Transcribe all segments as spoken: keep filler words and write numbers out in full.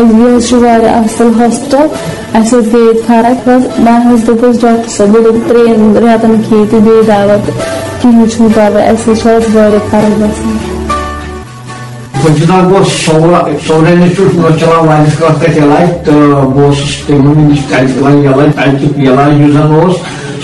یہِ حظ چھُ واریاہ اَصٕل ہاسپِٹل۔ اَسہِ حظ گٔے فرق حظ۔ مےٚ حظ دوٚپ حظ ڈاکٹر صٲب، یہِ دوٚپ ترٛٮ۪ن رٮ۪تن کھیٚیِو تُہۍ بیٚیہِ دوا، کِہیٖنۍ چھُنہٕ پرواے، اَسہِ حظ چھُ آز واریاہ فرق گژھان۔ بہٕ چھُس اَتھ گوٚو سورا، سورا انسٹیٹیوٹ، مےٚ اوس چلان واریاہَس کالَس تَتہِ علاج، تہٕ بہٕ اوسُس تِمَن نِش تَتہِ دِوان علاج، تَتہِ علاج یُس زَن اوس،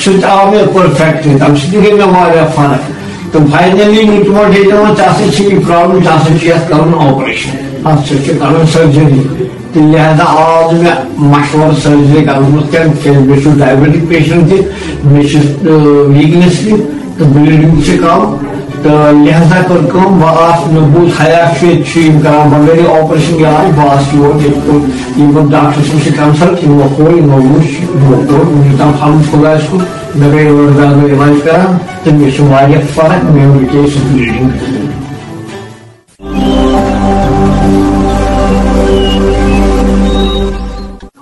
سُہ تہِ آو مےٚ پٔرفیکٹ، تَمہِ سۭتۍ تہِ گٔے مےٚ واریاہ فرق۔ تہٕ فاینلی ییٚلہِ تِمو ڈیٹا ووٚن، "ژےٚ ہسا چھِ یہِ پرابلم، ژےٚ ہسا چھِ یَتھ کَرُن آپریشن، اَتھ سۭتۍ چھِ کَرُن سٔرجری۔" تہٕ لہذا آو نہٕ مےٚ مشورٕ سٔرجری کَرنَس منٛز کینٛہہ، تِکیٛازِ مےٚ چھُ ڈایبٹک پیشنٹ تہِ، مےٚ چھِ، آ، ویٖکنیس تہِ، تہٕ بلیٖڈنگ تہِ چھِ کَم۔ تہٕ لہذا کٔر کٲم، بہٕ آس، مےٚ بوٗز حیا چھُ ییٚتہِ چھُ یِم کران بغٲرٕے آپریشن علاج، بہٕ آس یور ییٚتہِ کوٚر، یِمو ڈاکٹر صٲب سۭتۍ کنسلٹ، یِمو کوٚر، یِمو وُچھ، یِمو کوٚر، یوٗتاہ پھلُن خۄدایَس کُن، مےٚ گٔے ٲٹھ دَہ دۄہ علاج کران تہٕ مےٚ چھِ واریاہ فرق، مےٚ رُکے سُہ بلیٖڈنگ۔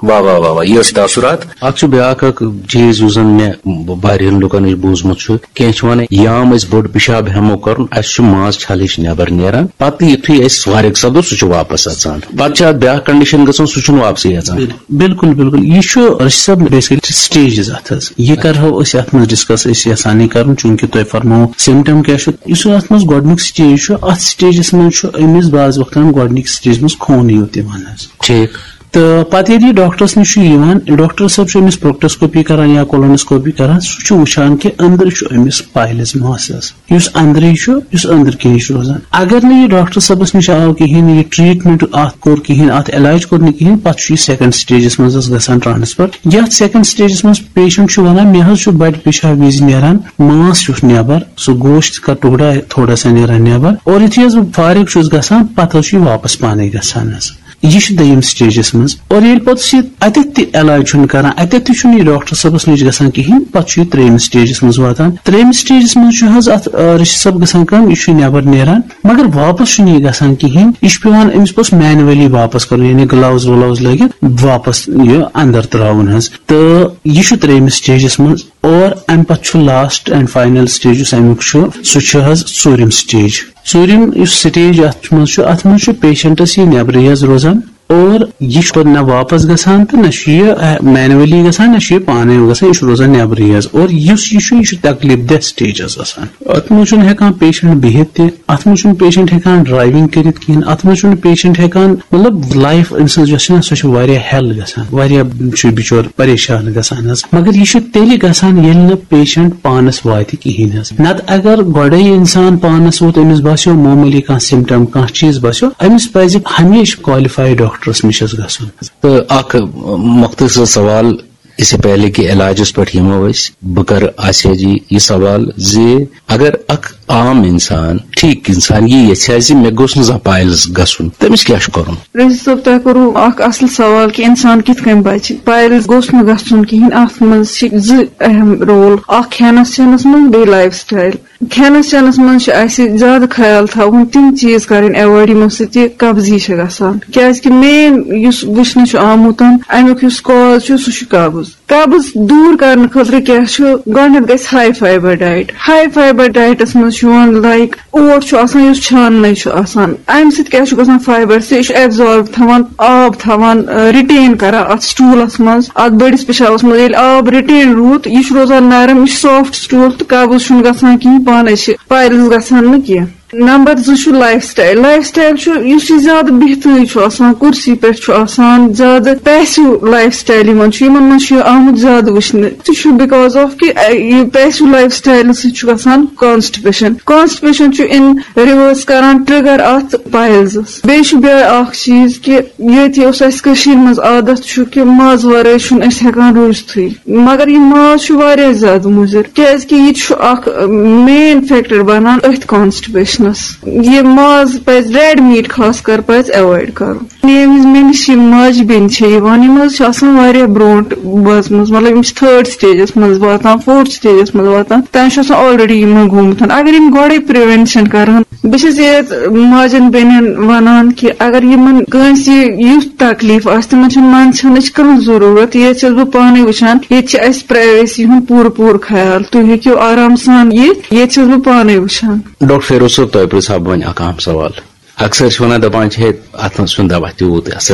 واہ واہ واہ واہ، یہِ ٲسۍ تاثرات۔ اتھ چھُ بیٛاکھ اکھ چیٖز یُس زن مےٚ واریاہن لُکن نِش بوٗزمُت چھُ، کینٛہہ چھِ ونان، یام أسۍ بوٚڑ پِشاب ہٮ۪مو کرُن، اسہِ چھُ منٛز چھلٕچ نٮ۪بر نیران، پتہٕ یُتھُے أسۍ فارغ سپدو سُہ چھُ واپس اژان۔ پتہٕ چھِ اتھ بیٛاکھ کنڈیشن گژھان، سُہ چھُنہٕ واپسٕے اژان۔ بِل-، بِلکُل، بِلکُل۔ یہِ چھُ، أسۍ چھِ سب بیسکلی سٹیجز اتھ حظ۔ یہِ کرہو أسۍ اتھ منٛز ڈسکس، أسۍ یژھان یہِ کرُن، چوٗنکہِ تۄہہِ فرموو سمٹم کیٛاہ چھُ۔ یُس اتھ منٛز گۄڈنیُک سٹیج چھُ، اتھ سٹیجس منٛز چھُ أمِس بعض وقتن گۄڈنِکۍ سٹیج منٛز خوٗنٕے یوت یِوان حظ۔ ٹھیٖک۔ تہٕ پتہٕ ییٚلہِ یہِ ڈاکٹرس نِش چھُ یِوان، ڈاکٹر صٲب چھُ أمِس پروکٹوسکوپی کران یا کولونوسکوپی کران، سُہ چھُ وٕچھان کہِ أنٛدرٕ چھُ أمِس پایلز ماس حظ، یُس أنٛدرٕے چھُ، یُس أنٛدرٕ کِنی چھُ روزان۔ اگر نہٕ یہِ ڈاکٹر صٲبس نِش آو کِہیٖنۍ، یہِ ٹریٹمنٹ اتھ کوٚر کِہیٖنۍ، اتھ علاج کوٚر نہٕ کِہیٖنۍ، پتہٕ چھُ یہِ سیکنڈ سٹیجس منٛز حظ گژھان ٹرانسفر۔ یتھ سیکنڈ سٹیجس منٛز پیشنٹ چھُ ونان، مےٚ حظ چھُ بڑِ پِشاب وِزِ نیران ماس ہیوٗ نٮ۪بر، سُہ گوشت کا ٹُکڑا تھوڑا سا نیران نٮ۪بر، اور یُتھُے حظ بہٕ فارغ چھُس گژھان، پتہٕ حظ چھُ یہِ واپس پانے گژھان حظ۔ یہِ چھُ دوٚیِم سٹیجس منٛز۔ اور ییٚلہِ پتہٕ سُہ اتٮ۪تھ تہِ علاج چھُنہٕ کران، اتٮ۪تھ تہِ چھُنہٕ یہِ ڈاکٹر صٲبس نِش گژھان کِہینۍ، پتہٕ چھُ یہِ ترٛیٚیِمِس سٹیجس منٛز واتان۔ ترٛیٚیِمِس سٹیجس منٛز چھُ حظ اتھ، آ، رشید صٲب گژھان کٲم، یہِ چھُ نٮ۪بر نیران، مگر واپس چھُنہٕ یہِ گژھان کِہینۍ۔ یہِ چھُ پٮ۪وان أمِس پتہٕ مینولی واپس کرُن، یعنی گلاوز ولاوز لٲگِتھ واپس یہِ اندر تراوُن حظ۔ تہٕ یہِ چھُ ترٛیٚیِمِس سٹیجس منٛز۔ اور امہِ پتہٕ چھُ last and final stage یُس امیُک چھُ، سُہ چھُ حظ ژوٗرِم سٹیج۔ ژوٗرِم یُس سٹیج اتھ منٛز چھُ، اتھ منٛز چھُ پیشنٹس یہِ نٮ۪برٕے حظ روزان، اور یہِ چھُ پتہٕ نہ واپس گژھان تہٕ نہ چھُ یہِ، آ، مینولی گژھان، نہ چھُ یہِ پانے گژھان، یہِ چھُ روزان نٮ۪برٕے حظ۔ اور یُس یہِ چھُ، یہِ چھُ تکلیف دہ سٹیج حظ آسان۔ اتھ منٛز چھُنہٕ ہٮ۪کان پیشنٹ بِہِتھ تہِ، اتھ منٛز چھُنہٕ پیشنٹ ہٮ۪کان ڈرایونگ کٔرِتھ کِہینۍ، اتھ منٛز چھُنہٕ پیشنٹ ہٮ۪کان، مطلب، لایف أمۍ سٕنٛز یۄس چھِ نہ، سۄ چھِ واریاہ ہیل گژھان، واریاہ چھُ بِچور پریشان گژھان حظ۔ مگر یہِ چھُ تیٚلہِ گژھان، ییٚلہِ نہٕ پیشنٹ پانس واتہِ کِہینۍ حظ۔ نتہٕ اگر گۄڈے انسان پانس ووت، أمِس باسیو معموٗلی کانٛہہ سمٹم، کانٛہہ چیٖز باسیو، أمِس پزِ ہمیشہِ کالِفایڈ ڈاکٹرس نِش حظ گژھُن۔ تہٕ اکھ مختصر سوال، اس سے پہلے کہ علاجس پٮ۪ٹھ یِمو أسۍ، بہٕ کرٕ آسیا جی یہِ سوال زِ اگر اکھ عام انسان، ٹھیک انسان، یہِ یژھِ ہا زِ مےٚ گوٚژھ نہٕ زانٛہہ پایلز گژھُن، تٔمِس کیٛاہ چھُ کرُن؟ رشید صٲب، تۄہہِ کوٚروٕ اکھ اصل سوال کہِ انسان کِتھ کٔنۍ بچہِ۔ پایلز گوٚژھ نہٕ گژھُن کِہینۍ۔ اتھ منٛز چھِ زٕ اہم رول، اکھ کھٮ۪نس چٮ۪نس منٛز، بیٚیہِ لایف سٹایل۔ کھٮ۪نس چٮ۪نس منٛز چھُ اسہِ زیادٕ خیال تھاوُن، تِم چیٖز کرٕنۍ ایوایڈ یِمو سۭتۍ یہِ قبضی چھِ گژھان، کیازِ کہِ مین یُس وٕچھنہٕ چھُ آمُت، امیُک یُس کاز چھُ، سُہ چھُ قبض۔ قبض دوٗر کرنہٕ خٲطرٕ کیٛاہ چھُ؟ گۄڈٕنٮ۪تھ گژھِ ہاے فایبر ڈایٹ۔ ہاے فایبر ڈایٹس منٛز چھُ یِوان، لایک، اوٹ چھُ آسان یُس چھاننے چھُ آسان، امہِ سۭتۍ کیٛاہ چھُ گژھان؟ فایبر سۭتۍ یہِ چھُ ایبزارب تھاوان، آب تھاوان، رِٹین کران اتھ سٹوٗلس منٛز، اتھ بٔڑِس پِشابس منٛز۔ ییٚلہِ آب رِٹین روٗد، یہِ چھُ روزان نرم، یہِ چھُ سافٹ سٹوٗل تہٕ قبض چھُنہٕ گژھان کِہینۍ، پانے چھِ پایلز گژھان نہٕ کینٛہہ۔ نمبر زٕ چھُ لایف سٹایل۔ لایف سٹایل چھُ یُس یہِ زیادٕ بِہتٕے چھُ آسان، کُرسی پٮ۪ٹھ چھُ آسان، زیادٕ پیسو لایف سٹایل یِمن چھُ، یِمن منٛز چھُ یہِ آمُت زیادٕ وٕچھنہٕ۔ تہِ چھُ because of کہِ، اَ، یہِ پیسو لایف سٹایلہٕ سۭتۍ چھُ گژھان کانسٹپیشن۔ کانسٹپیشن چھُ ان ریورس کران ٹرگر اتھ پایلزس۔ بیٚیہِ چھُ بیٚیہِ اکھ چیٖز کہِ ییٚتہِ اوس اَسہِ کٔشیٖرِ منٛز عادت چھُ کہِ مازٕ ورٲے چھُنہٕ أسۍ ہٮ۪کان روٗزتھٕے۔ مگر یہِ ماز چھُ واریاہ زیادٕ مُضِر، کیازِ کہِ یہِ چھُ اکھ، ٲ، مین فیکٹر بنان أتھۍ کانسٹپیشنس۔ یہِ ماز پزِ، ریڈ میٖٹ خاص کر پزِ ایوایڈ کرُن۔ ییٚمہِ وِزِ مےٚ نِش یِم ماجہِ بیٚنہِ چھےٚ یِوان، یِم حظ چھِ آسان واریاہ برونٛٹھ وٲژمٕژ، مطلب یِم چھِ تھٲرڈ سٹیجس منٛز واتان، فورتھ سٹیجس منٛز واتان، تۄہہِ چھُ آسان آلریڈی یِمن گوٚمُت۔ اگر یِم گۄڈے پریونشن کرہن، بہٕ چھَس ییٚتہِ ماجٮ۪ن بیٚنٮ۪ن وَنان کہِ اگر یِمَن کٲنٛسہِ یُتھ تکلیٖف آسہِ، تِمَن چھَنہٕ منٛدچھنٕچ کانٛہہ ضروٗرت۔ ییٚتہِ چھَس بہٕ پانَے وٕچھان، ییٚتہِ چھِ اَسہِ پرٛایویسی ہُنٛد پوٗرٕ پوٗرٕ خیال۔ تُہۍ ہیٚکِو آرام سان یِتھ، ییٚتہِ چھَس بہٕ پانَے وٕچھان۔ ڈاکٹر فیروز صٲب، تۄہہِ پرٛژھٕ ہا بہٕ وۄنۍ اکھ اہم سوال۔ اکثر چھِ وَنان، دَپان چھِ، ہے، اَتھ منٛز چھُنہٕ دَوا تیوٗت اَثر